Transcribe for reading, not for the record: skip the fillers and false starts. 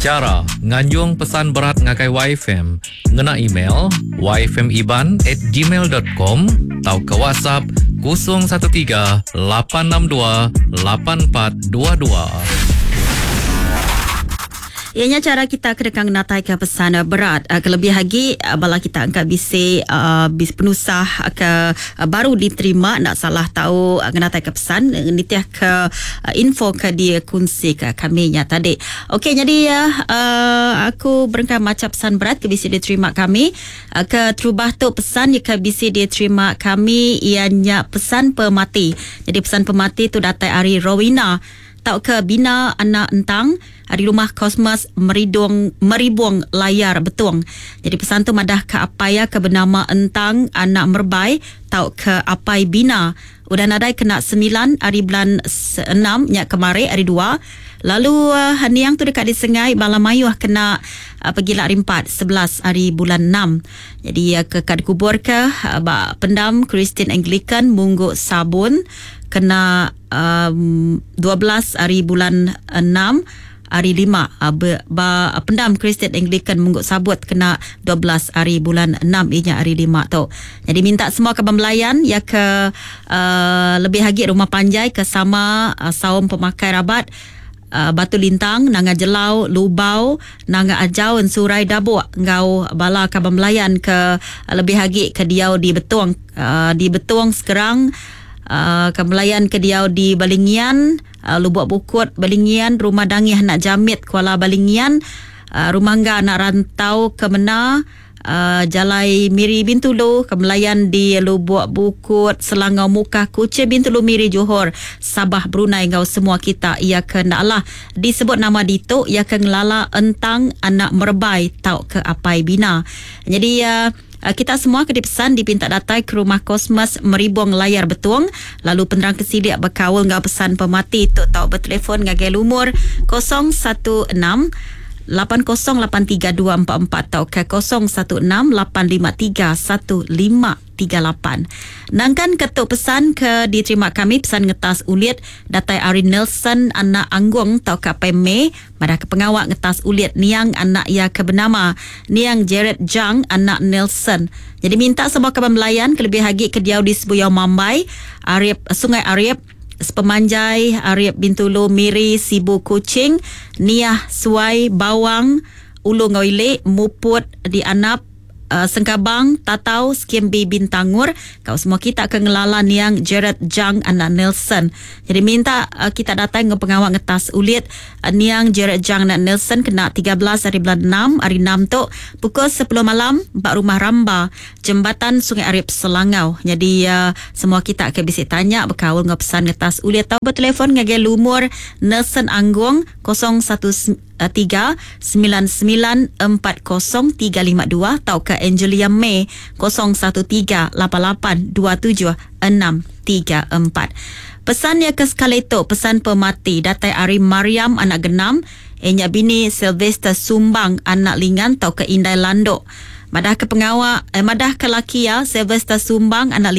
Chara nganjung pesan berat ngagai YFM ngena email yfmiban at gmail dot com tauka WhatsApp 013 862 8422. Iya nya chara kita ke deka ngenataika pesan berat kelebih agi bala kita engka bisi bisi penusah ke baru diterima enda salah tau ngenataika pesan nitihka info ke dikunsika kami nya tadi. Okey nyadi aku berengkah macha pesan berat ke bisi diterima kami. Ke terubah tu pesan ke bisi diterima kami iya nya pesan pemati. Jadi pesan pemati tu datai ari Rowena tauka Bina Anak Entang ari Rumah Cosmas Meridung Meribung Layar Betong. Jadi pesan tu madah ka apai iya ke benama Entang Anak Merbai tauka Apai Bina udah nadai kena semilan ari bulan enam nya kemari hari dua lalu niang tu deka disengai bala mayuh kena pegila hari empat 11 ari bulan enam. Jadi ke ka dikuburka ba pendam Kristian Anglican Munggu Sabun kena um, 12 ari bulan 6 hari 5 ba pendam Kristian Anglican Munggu Sabut kena 12 hari bulan 6 inya hari 5 tu. Jadi minta semua kaban belayan ya ke uh, lebih agi rumah panjai ke sama uh, saum pemakai rabat uh, Batu Lintang, Nanga Jelau, Lubau, Nanga Ajau, Ensurai Dabuk enggau bala kaban belayan ke uh, lebih agi ke diau di Betong uh, di Betong sekarang uh, kaban belayan ke diau di Balingian, uh, Lubuk Bukut Balingian, Rumah Dangih Anak Jamit Kuala Balingian, uh, Rumah Engga Anak Rantau Kemena, uh, Jalai Miri Bintulu, Kemelayan di Lubuk Bukut, Selangau Mukah, Kuching Bintulu Miri Johor, Sabah Brunei enggau semua kita ia ke ndak lah disebut nama ditu ia ke ngelala entang anak merbai tau ke apai bina. Jadi uh, kita semua ke dipesan dipinta datai ke rumah Kosmas Meribong Layar Betong lalu penerang ke silik bekaul enggau pesan pemati tu tau bertelefon ngagai lumur 016 8083244 tau ke 016 853 1538. Nangkan ketuk pesan ke diterima kami pesan ngetas ulit datai ari Nelson anak Anggung tau ke Apai May madah ke pengawa ngetas ulit niang anak ia ke bernama Niang Jared Jang anak Nelson. Jadi minta semua kaban belayan kelebih agi ke diau di Sebuyau Mambai, Arip Sungai Arip, Sepemanjai Arip Bintulu Miri Sibu Kuching, Niah Suai Bawang, Ulu enggau Ili, Muput di Anap, Sengkabang, Tatau, Skim B Bintangur, kau semua kita ke ngelala niang Jared Jang anak Nelson. Jadi minta uh, kita datang ke pengawa ngetas ulit uh, niang Jared Jang anak Nelson kena 13 hari bulan 6 hari 6 tu pukul 10 malam ba rumah Ramba Jembatan Sungai Arip Selangau. Jadi uh, semua kita ke bisi tanya bekaul ngau pesan ngetas ulit tau bertelefon ngagai lumur Nelson Anggung 01 3 99 40 352 tauka Angelia May 013 88 27 634. Pesan ya ke sekali tu pesan pemati datai ari Mariam anak Genam inya bini Sylvester Sumbang anak Lingan tauka Indai Landok. Madah ke pengawa eh, madah ke laki ya Sylvester Sumbang anak.